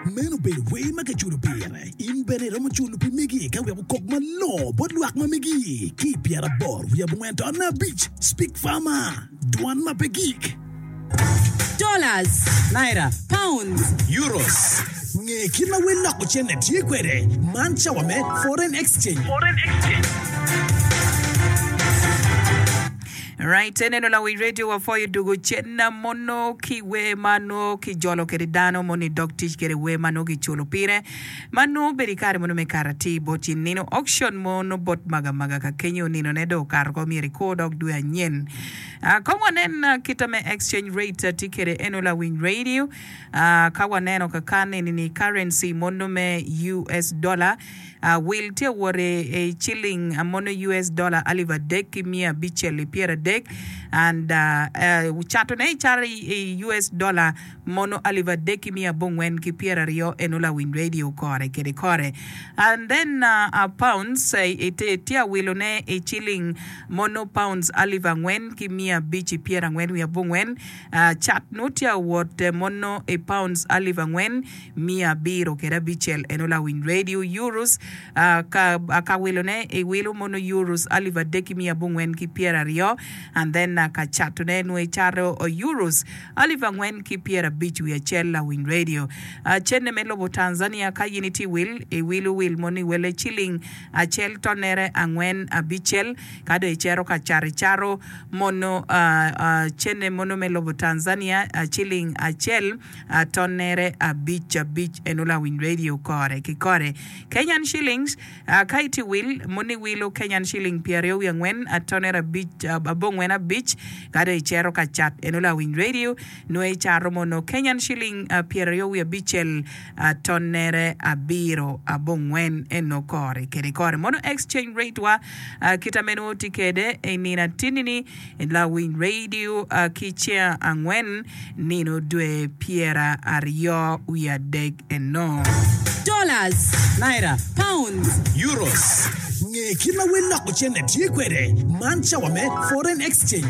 Meno obedo wer ma kiculo pire. In bene iromo culo pi megi ka wek okok malongo bot lwak ma megi ki i pyeraboro wiye abongwen to abic. Speak Farmer, Dwan ma pe gik. Dollars. Naira. Pounds. Euros. Nge kit ma wel loko cente tye kwede. Man cawa me Foreign Exchange. Right, eneno lawic radio wapwoyo dugo cen mono ki wer ma nongo kijolo kwede dano mono i dog tic kede wer ma nongo kiculo pire ma nongo obedo i kare mono me kato atir bot in nino auction mono bot maga maga ka kenyo nino ne dong okato ko myero ikur dok dwe anyen. Ah, kong wanen ah, kita me exchange rate ah, tye kwede eno lawiny radio ah, ka waneno kakan eni ni currency mono me US dollar Wil tye wot i ciling mono US dollar alip adek ki miya abicel i pyeradek and cato ne icato i US dollar mono alip adek ki miya abongwen ki pyeraryo eno lawiny radio kore kede kore and then pounds tye awilo ne i ciling mono pounds alip angwen ki miya abic i pyerangwen wiye abongwen cat nongo tye awot mono i pounds alip angwen miya abiro kede abicel eno lawiny radio euros ka ka wilo ne i wilo mono euros alip adek ki miya abongwen ki pyeraryo and then ka cato ne nwo icato euros alip angwen ki pyerabic wiye acel lawiny radio cene me lobo Tanzania ka yin itye wil i wilo wil mono i wele ciling acel tonere angwen abicel ka dong icito ka cato icato mono cene mono me lobo Tanzania ciling acel Tonnere abic abic eno lawiny radio kore ki kore. Kenyan shillings ka itye wil moni wilo Kenyan shilling pyeraryo wiye angwen tonere abic abongwen abic ka dong icito ka cat eno lawiny radio nongo icato mono Kenyan shilling pyeraryo wiye abicel tonnere abiro abongwen eno kore kede kore mono exchange rate wa kita meno tye kede inino atini ni Lawiny radio ki ceng angwen nino dwe pyeraryo wiye adek eno. Dollars. Naira. Pounds. Euros. Nge kit ma wel loko cente tye kwede. Man cawa me Foreign Exchange.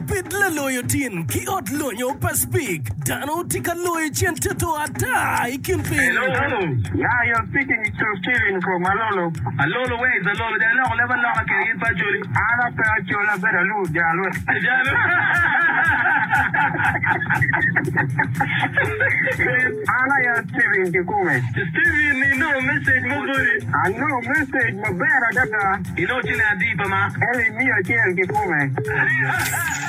Bed laloyo tin ki ot lonyo pa Speke. Dano tye ka loyo cente to ata i kin piny. Hello. Yeah, you're speaking to Steven from Alolo. Alolo, where is Alolo? Jang iloko leb aloka kede gin pa Acholi. An ape Acholi, abedo Alur Jalwe. Jalo. An aye Steven kikome. Steven, inongo message mo boti? Anongo message maber adada. Inongo ciling adi pa ma? Eli miya acel kikome.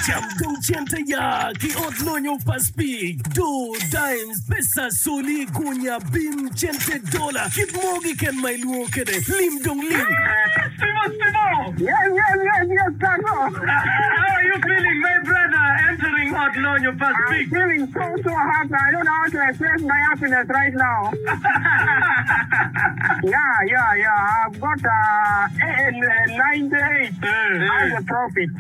Cam dong cente ya ki ot lonyo pa Speke, doo, dimes, pesa, soli, gunya, bim, cente, dola, kit mo kiken ma ilwongo kede, lim dong lim. Stimo, Stimo! Yes, yes, yes, yes, Tato! How are you feeling my brother entering ot lonyo pa I'm Speke? feeling so, so happy. I don't know how to express my happiness right now. Yeah, yeah, yeah. I've got uh, 98 as a profit.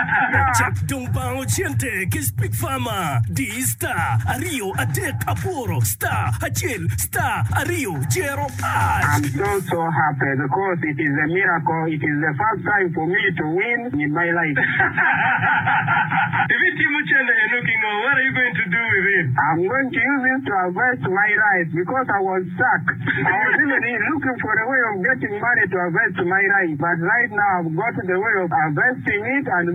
Yeah. Cak dong bango cente ki Speak Farmer. Di star aryo adek aboro star acel star aryo jero ash. I'm so so happy because it is a miracle. It is the first time for me to win in my life. Ibitimo cente eno ki ngo? What are you going to do with it? I'm going to use it to harvest my rice because I was stuck. I was even looking for a way of getting money to harvest my rice, but right now I've got the way of harvesting it and.